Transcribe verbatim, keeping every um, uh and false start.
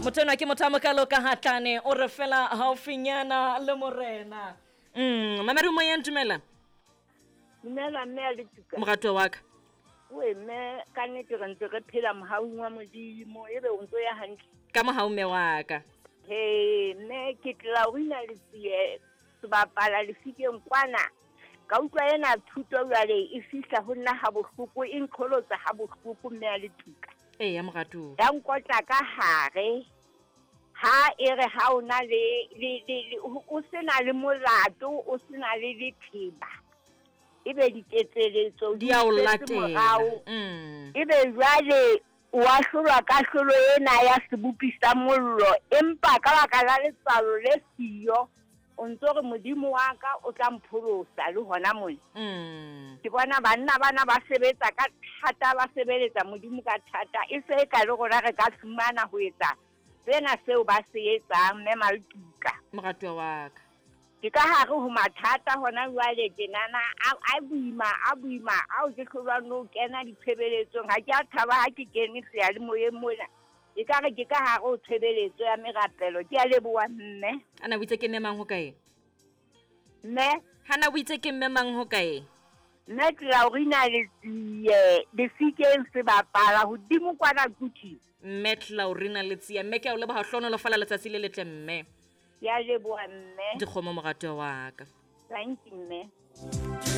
Motho enwa ke motho a mokalo ka hatlane o re fela haufinyana le morena. Mm, mamedi moyeng, dumela. Dumela mme a Letuka. Moratuwa wa ka. Oe mme, ka nnete re ntse re phela mohaung wa Modimo, ebe o ntso ya hantle. Ka mohau mme wa ka. He mme, ke Tlaurina Letsie, sebapala lefikeng kwana. Ka utlwa ena thuto jwale e fihla ho nna ha bohloko, e nqholotsa ha bohloko mme a Letuka. Eya moratuwa. Ya nkotla ka hare. Ha e re ha o na le, le, le, le, o sena le molato, o sena le letheba. Ebe diketseletso di a o di latela. morao. Mm. Ebe jwale o ahlolwa kahlolo ena ya sebopi sa mollo, empa ka baka la letswalo le siyo, o ntso re Modimo wa ka o tla mpholosa le hona mona. Mm. Ke bona banna bana ba sebetsa ka thata, ba sebeletsa Modimo ka thata. E se e ka le rona re ka fumana ho etsa sena seo ba se etsang, mme Maletuka. Moratuwa wa ka. Ke ka hare ho mathata hona jwale tjenana, a, a boima, a boima, ao ke hlolwang le ho kena ditshebeletsong. Ha ke a thaba ha ke kene seyalemoyeng mona. E ka re ke ka hare ho tshebeletso ya merapelo. Ke a leboha mme. Ana o itse ke mme mang ho kae? Mme? Hana o itse ke mme mang ho kae? Mme Tlaurina Letsie, Lefikeng sebapala hodimo kwana Kuching. Mme Tlaurina Letsie, mme ke a o leboha, hlohonolofala letsatsi le letle mme. Ke a leboha mme. Dikgomo moratuwa wa ka. Thank you mme.